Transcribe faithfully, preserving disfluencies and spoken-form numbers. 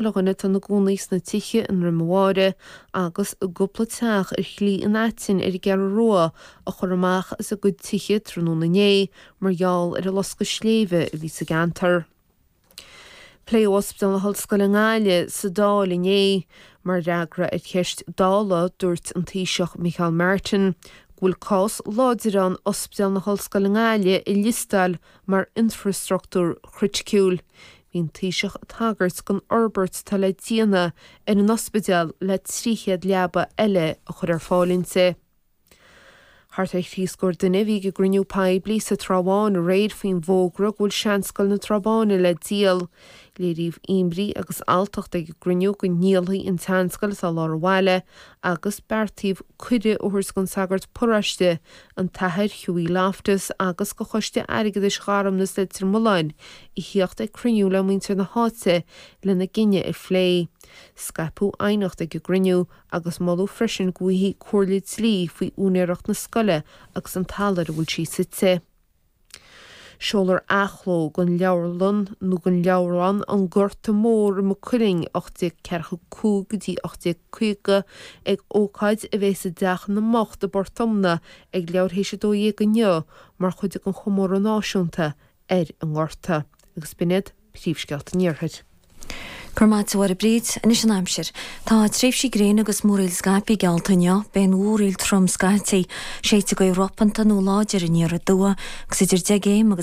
Le dhuine atá ina gcónaí sna tithe i nDroim an Bháire agus i gcúpla teach ar Shlí an Aitinn ar an gCeathrú Rua a chur amach as a gcuid tithe tráthnóna inné mar gheall ar an loscadh sléibhe a bhí sa gceantar. Pléadh Ospidéal na hOllscoile i nGaillimh sa Dáil inné. Mar fhreagra ar cheist Dála, dúirt an Taoiseach Micheál Martin go bhfuil cás láidir ann Ospidéal na hOllscoile i nGaillimh a liostáil mar infreastruchtúr criticiúil. Bhí an Taoiseach ag tagairt don fhorbairt atá le déanamh ar an ospidéal le trí chéad leaba eile a chur ar fáil inti. Thart ar thrí scór duine a bhí ag an gcruinniú poiblí sa Trá Bháin aréir faoin bhfógra go bhfuil Seanscoil na Trá Báine le díol. Léiríodh imní agus alltacht ag an gcruinniú go ndíolfaí an tseanscoil atá i lár an bhaile agus beartaíodh cuireadh a thabhairt don sagart paróiste, an tAthair Hughie Loftus agus do Choiste Airgeadais Gharmnas Leitir Mealláin a theacht ag cruinniú le muintir na háite lena gcinneadh a phlé. Scaipeadh aighneacht ag an gcruinniú agus moladh freisin go bhfaighfí comhairle dlí faoi úinéireacht na scoile agus an talamh ar a bhfuil sí suite. Seolfar athchló den leabharlann nó den leabhrán An Gorta Mór i Maigh Cuilinn, ocht déag ceathracha cúig go dtí ocht déag caoga, ag ócáid a bheas i dTeach na mBocht i bPort Omna ag leathuair théis a dó dhéag inniu mar chuid den chomóradh náisiúnta ar an nGorta. Agus b'in iad príomhscéalta an Iarthair. Go raibh maith agat a Bhríd, anois an aimsir. Tá tréimhsí gréine agus múraíl scaipthe geallta inniu, beidh an mhúraíl trom scaití, séidfidh gaoth ropanta nó láidir aniar aduaidh agus idir deich gcéim agus